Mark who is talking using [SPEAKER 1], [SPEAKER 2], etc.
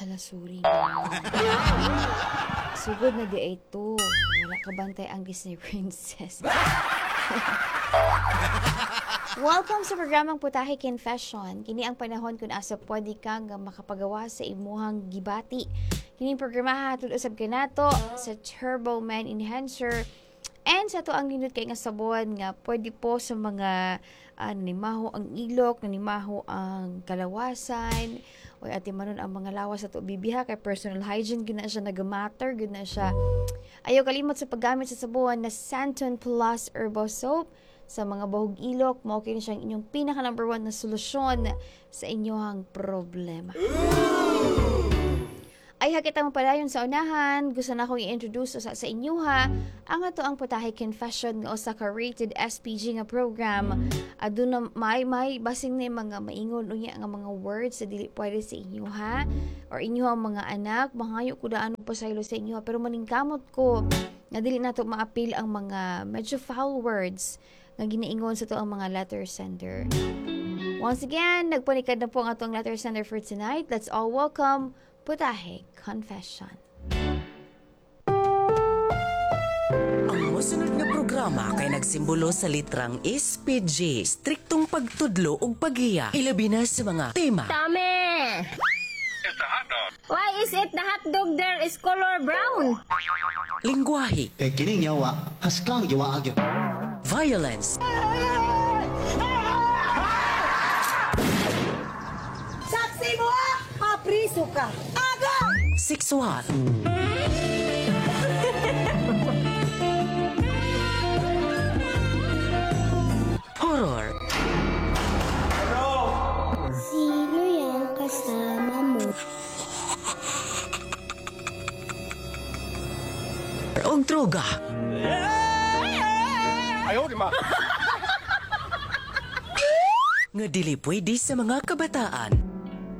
[SPEAKER 1] Hala, sorry na. Sugod na di ay to. Wala ka bantay ang Disney Princess. Welcome sa programang Putahe Confession. Kini ang panahon kung asa pwede ka nga makapagawa sa imuhang gibati. Kini ang programa hatod usab kanato sa Turbo Man Enhancer and sa to ang nindot kay nga sabon nga pwede po sa mga nanimaho ang ilok, nanimaho ang kalawasan, o ati manon ang mga lawas sa to bibiha kay personal hygiene gina siya nagamatter, gina siya. Ayaw kalimot sa paggamit sa sabon na Santon Plus Herbal Soap sa mga bahog ilok, mao kini siyang inyong pinaka number one na solusyon sa inyong problema. Ay hakita mo pala yun sa unahan, gusto na akong i-introduce sa inyo ha, ang ato ang Putahe Confession nga usa ka rated SPG nga program. Aduna may basing na mga maingon unya nga mga words sa dili pwede sa inyo ha, or inyo ang mga anak, mangayo ko daan pasaylo sa inyo ha, pero maningkamot ko nga dili nato maapil ang mga medyo foul words nga ginaingon sa to ang mga letter sender. Once again, nagpanikad na po ang atong letter sender for tonight. Let's all welcome Putahe Confession.
[SPEAKER 2] Ang mosunod nga programa kay nagsimbolo sa litrang SPG, striktong pagtudlo ug paghiya, ilabi na sa mga tema.
[SPEAKER 3] Tame! Why is it the hot dog there is color brown?
[SPEAKER 2] Lingwahe,
[SPEAKER 4] Kay kining yawa, haskang yawa agyo.
[SPEAKER 2] Violence,
[SPEAKER 5] Saksi mo ah! Mapriso ka! Aga!
[SPEAKER 2] Sexual, horror,
[SPEAKER 6] Sino yung kasama mo?
[SPEAKER 2] ug droga. Nga dili pwede sa mga kabataan.